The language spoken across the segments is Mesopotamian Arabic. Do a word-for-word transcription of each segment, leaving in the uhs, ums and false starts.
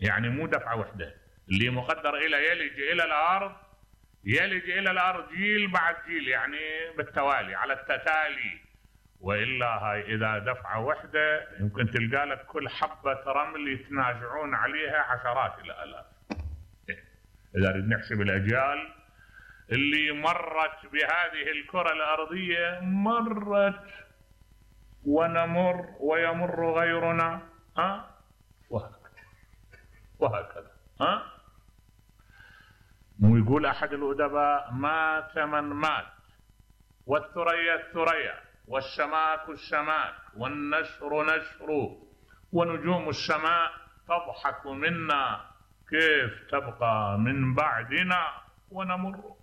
يعني مو دفعة وحدة. اللي مقدر إلى يلج إلى الأرض يلج إلى الأرض جيل بعد جيل، يعني بالتوالي على التتالي. وإلا هاي إذا دفعة وحدة يمكن تلقى لك كل حبة رمل يتنازعون عليها عشرات الآلاف. إذا نريد نحسب الأجيال اللي مرت بهذه الكرة الأرضية، مرت ونمر ويمر غيرنا، ها وهكذا وهكذا. ها ويقول أحد الأدباء: مات من مات، والثريا الثريا، والشماك الشماك، والنشر نشر، ونجوم السماء تضحك منا، كيف تبقى من بعدنا ونمر.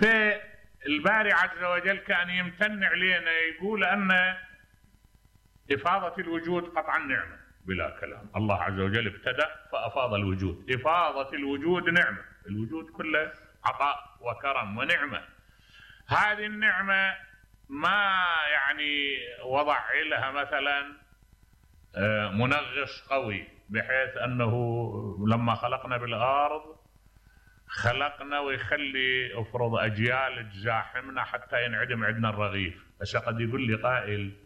فالباري عز وجل كان يمتن علينا، يقول أن إفاضة الوجود قطعا نعمة بلا كلام. الله عز وجل ابتدأ فأفاض الوجود. إفاضة الوجود نعمة، الوجود كله عطاء وكرم ونعمة. هذه النعمة ما يعني وضع لها مثلا منغص قوي بحيث أنه لما خلقنا بالأرض خلقنا ويخلي افرض أجيال تزاحمنا حتى ينعدم عندنا الرغيف. بس قد يقول لي قائل: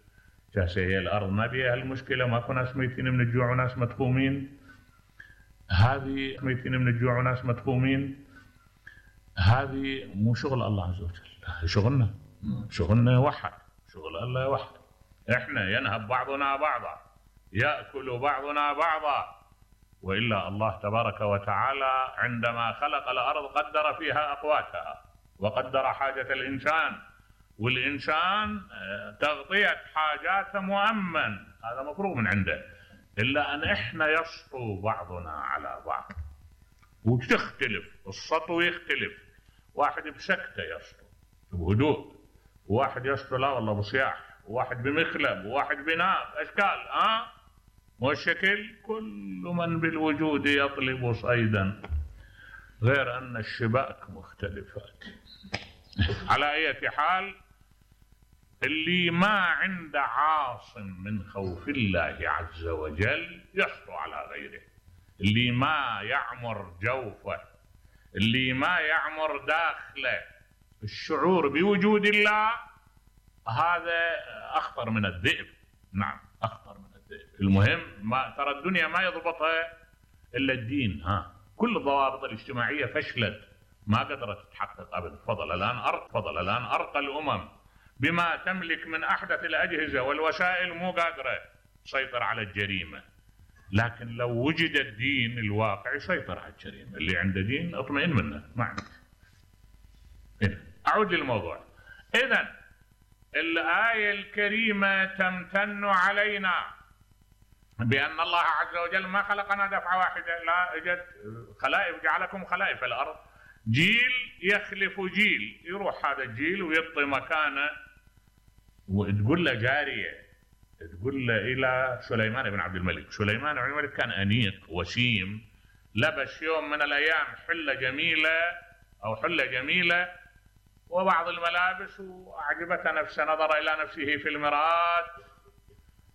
جالسة هي الأرض ما بيها المشكلة، ماكو ناس ميتين من الجوع وناس مدفومين؟ هذه ميتين من الجوع وناس مدفومين، هذه مو شغل الله عز وجل، شغلنا شغلنا وحد، شغل الله وحد. احنا ينهب بعضنا بعضا، يأكل بعضنا بعضا. وإلا الله تبارك وتعالى عندما خلق الأرض قدر فيها أقواتها وقدر حاجة الإنسان، والإنسان تغطية حاجاته مؤمن، هذا مفروغ من عنده. إلا أن إحنا يسطو بعضنا على بعض وتختلف السطو، يختلف. واحد بسكتة يسطو بهدوء، وواحد يسطو لا والله بصياح، وواحد بمخلب، وواحد بناب، أشكال. ها أه؟ والشكل كل من بالوجود يطلب صيدا، غير أن الشباك مختلفات. على أي حال، اللي ما عنده عاصم من خوف الله عز وجل يسطو على غيره، اللي ما يعمر جوفه، اللي ما يعمر داخله الشعور بوجود الله، هذا أخطر من الذئب. نعم أخطر من الذئب. المهم ما ترى الدنيا ما يضبطها إلا الدين. ها كل الضوابط الاجتماعية فشلت، ما قدرت تتحقق أبدا. فضل الآن أرق فضل الآن أرقى الأمم بما تملك من أحدث الأجهزة والوسائل مو قادرة تسيطر على الجريمة. لكن لو وجد الدين الواقع يسيطر على الجريمة. اللي عنده دين اطمئن منه. ما أعود للموضوع. إذن الآية الكريمة تمتن علينا بأن الله عز وجل ما خلقنا دفعة واحدة، لا، اجت خلائف، جعلكم خلائف الأرض، جيل يخلف جيل، يروح هذا الجيل ويعطي مكانه. وتقول له جارية، تقول له إلى سليمان بن عبد الملك. سليمان بن عبد الملك كان أنيق وسيم، لبس يوم من الأيام حلة جميلة أو حلة جميلة وبعض الملابس، وأعجبته نفسه، نظر إلى نفسه في المرآة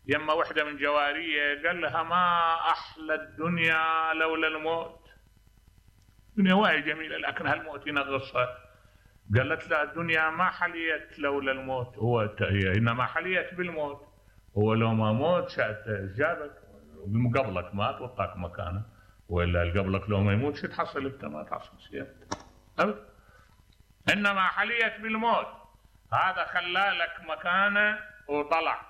يما وحدة من جوارية، قال لها: ما أحلى الدنيا لولا الموت. الدنيا وايد جميلة لكن هالموت ينغصها. قالت له: الدنيا ما حليت لولا الموت، هو إنما حليت بالموت. هو لو ما موت جابك قبلك مات وطاك مكانه، وإلا قبلك لو ما يموت شو تحصل انت؟ ما تحصل شيء أبدا. إنما حليت بالموت، هذا خلالك مكانه وطلع،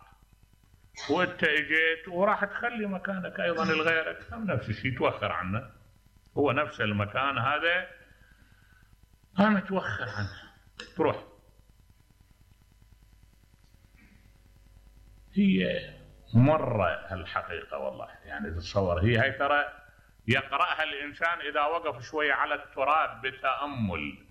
وانت اجيت وراح تخلي مكانك ايضا لغيرك، نفس الشيء توخر عنه. هو نفس المكان هذا انا توخر عنه تروح. هي مرة الحقيقة والله، يعني تتصور هي هي ترى يقرأها الإنسان إذا وقف شوية على التراب بتأمل.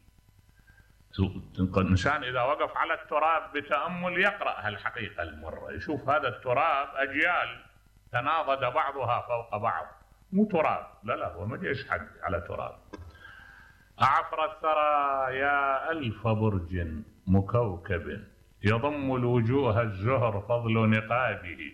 الإنسان إذا وقف على التراب بتأمل يقرأ هالحقيقة المرة، يشوف هذا التراب أجيال تناضد بعضها فوق بعض، مو تراب، لا لا هو ما جيش حد على تراب. أعفر الثرى يا ألف برج مكوكب، يضم الوجوه الزهر فضل نقابه،